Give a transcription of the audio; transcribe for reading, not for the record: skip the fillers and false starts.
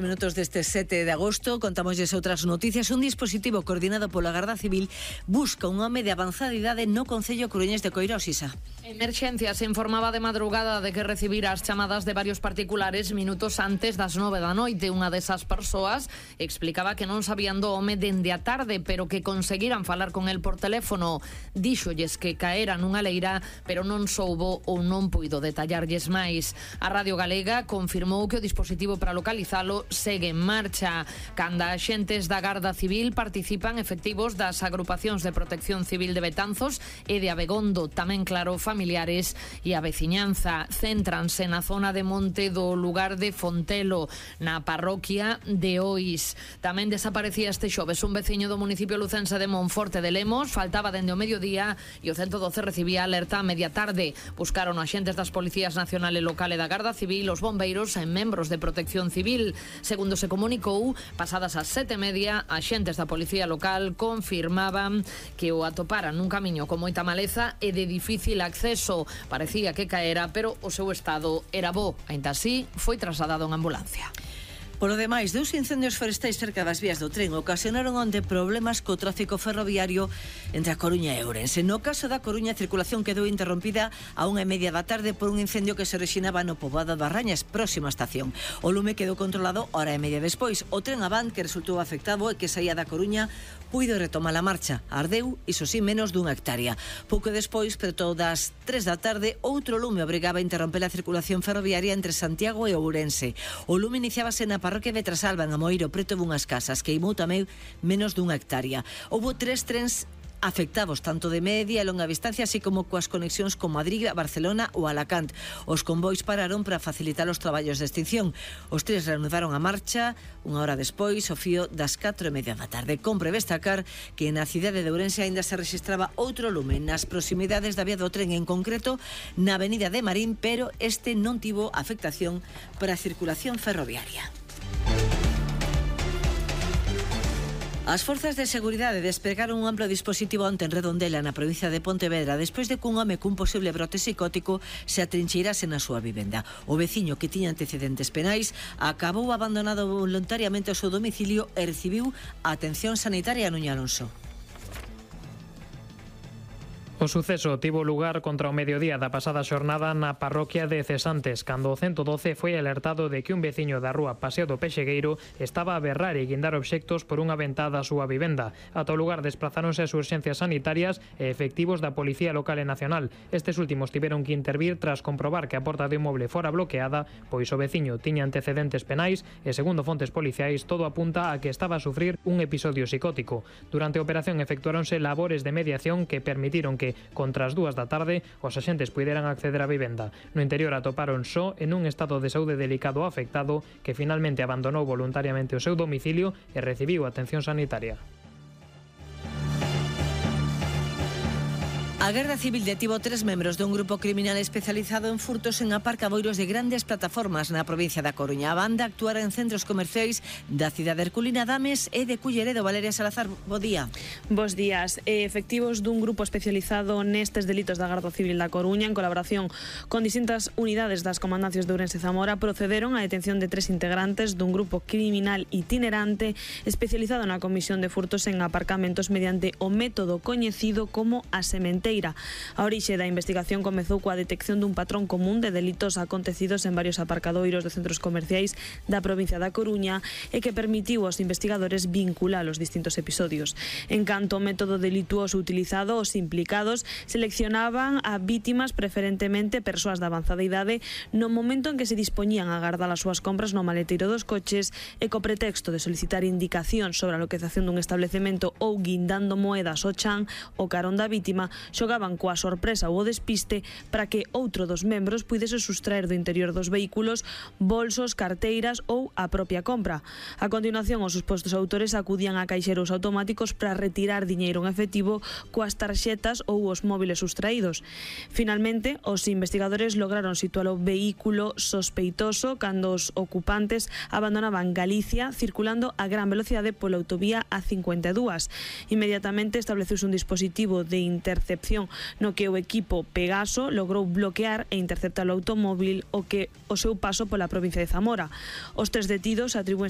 Minutos deste 7 de agosto, contámosles outras noticias. Un dispositivo coordinado pola Garda Civil busca un home de avanzada idade no concello coruñés de Coirós, Isa. Emerxencia se informaba de madrugada de que recibira as chamadas de varios particulares minutos antes das 9 da noite. Unha desas persoas explicaba que non sabían do home dende a tarde, pero que conseguiran falar con el por teléfono. Díxolles que caera nunha leira, pero non soubo ou non puido detallarlles máis. A Radio Galega confirmou que o dispositivo para localizalo segue en marcha. Canda axentes da Garda Civil participan efectivos das agrupacións de protección civil de Betanzos e de Abegondo, tamén claro familiares e a veciñanza. Céntranse na zona de monte do lugar de Fontelo, na parroquia de Ois. Tamén desaparecía este xoves un veciño do municipio lucense de Monforte de Lemos, faltaba dende o mediodía e o 112 recibía alerta a media tarde. Buscaron axentes das Policías Nacional e Local e da Garda Civil, os bombeiros e membros de protección civil. Segundo se comunicou, pasadas as 7:30, axentes da Policía Local confirmaban que o atoparan nun camiño con moita maleza e de difícil acceso. Parecía que caera, pero o seu estado era bo. Aínda así, foi trasladado en ambulancia. Por lo demais, dous incendios forestais cerca das vías do tren ocasionaron onde problemas co tráfico ferroviario entre a Coruña e Ourense. No caso da Coruña, a circulación quedou interrompida a 1:30 da tarde por un incendio que se orixinaba no poboado das Rañas, próxima estación. O lume quedou controlado hora e media despois. O tren Avant, que resultou afectado e que saía da Coruña, puido retomar a marcha. Ardeu, iso sí, menos dunha hectárea. Pouco despois, preto das 3 da tarde, outro lume obrigaba a interromper a circulación ferroviaria entre Santiago e Ourense. O lume iniciábase na parroquia de Trasalba, en Amoeiro, preto dunhas casas, queimou tamén menos dunha hectárea. Houbo 3 trens afectados, tanto de media e longa distancia, así como coas conexións con Madrid, Barcelona ou Alacant. Os convois pararon para facilitar os traballos de extinción. Os tres reanudaron a marcha unha hora despois, ao fío das 4:30 da tarde. Compre destacar que na cidade de Ourense aínda se rexistraba outro lume nas proximidades da vía do tren, en concreto na avenida de Marín, pero este non tivo afectación para a circulación ferroviaria. As forzas de seguridade despregaron un amplo dispositivo onte en Redondela, na provincia de Pontevedra, despois de que un home cun posible brote psicótico se atrincheirase na súa vivenda. O veciño, que tiña antecedentes penais, acabou abandonado voluntariamente o seu domicilio e recibiu a atención sanitaria Nuña Alonso. O suceso tivo lugar contra o mediodía da pasada xornada na parroquia de Cesantes, cando o 112 foi alertado de que un veciño da rúa Paseo do Pexegueiro estaba a berrar e guindar obxectos por unha ventada a súa vivenda. Ata o lugar desplazáronse as urxencias sanitarias e efectivos da Policía Local e Nacional. Estes últimos tiveron que intervir tras comprobar que a porta do inmoble fora bloqueada, pois o veciño tiña antecedentes penais e, segundo fontes policiais, todo apunta a que estaba a sufrir un episodio psicótico. Durante a operación efectuáronse labores de mediación que permitiron que contra as 2 da tarde os axentes puideran acceder á vivenda. No interior atoparon só en un estado de saúde delicado afectado que finalmente abandonou voluntariamente o seu domicilio e recibiu atención sanitaria. A Garda Civil detivo 3 membros dun grupo criminal especializado en furtos en aparcadoiros de grandes plataformas na provincia da Coruña. A banda actuara en centros comerciais da cidade herculina Dames e de Culleredo. Valeria Salazar, bo día. Bos días. Efectivos dun grupo especializado nestes delitos da Garda Civil da Coruña, en colaboración con distintas unidades das comandancias de Ourense e Zamora, procederon á detención de 3 integrantes dun grupo criminal itinerante especializado na comisión de furtos en aparcamentos mediante o método coñecido como a sementeira. A orixe da investigación comezou coa detección dun patrón común de delitos acontecidos en varios aparcadoiros de centros comerciais da provincia da Coruña e que permitiu aos investigadores vincular os distintos episodios. En canto ao método delituoso utilizado, os implicados seleccionaban a vítimas, preferentemente persoas de avanzada idade, no momento en que se dispoñían a agardar as súas compras no maleteiro dos coches e co pretexto de solicitar indicacións sobre a localización dun establecemento ou guindando moedas ao chan o carón da vítima, xogaban coa sorpresa ou o despiste para que outro dos membros puidese sustraer do interior dos vehículos bolsos, carteiras ou a propia compra. A continuación, os supostos autores acudían a caixeros automáticos para retirar diñeiro en efectivo coas tarxetas ou os móviles sustraídos. Finalmente, os investigadores lograron situar o vehículo sospeitoso cando os ocupantes abandonaban Galicia circulando a gran velocidade pola autovía A52. Inmediatamente estableceuse un dispositivo de intercepción acción no que o equipo Pegaso logrou bloquear e interceptar o automóvil o seu paso pola provincia de Zamora. Os 3 detidos atribúense